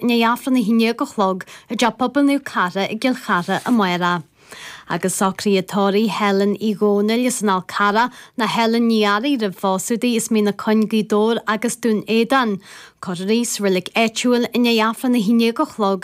I ndiaidh Aifreann 11 a chlog i dTeach Pobail Naomh Cartha i gCill Chartha amárach. Agus socruithe tórraimh Helen Uí Dhomhnaill as an Fhál Carrach nó Helen Ní Fhearraigh roimh phósadh di as Mín na Coinn Gaoth Dobhair agus Dún Éideann. Cuirfear í sa reilig áitiúil i ndiaidh Aifreann 11 a chlog.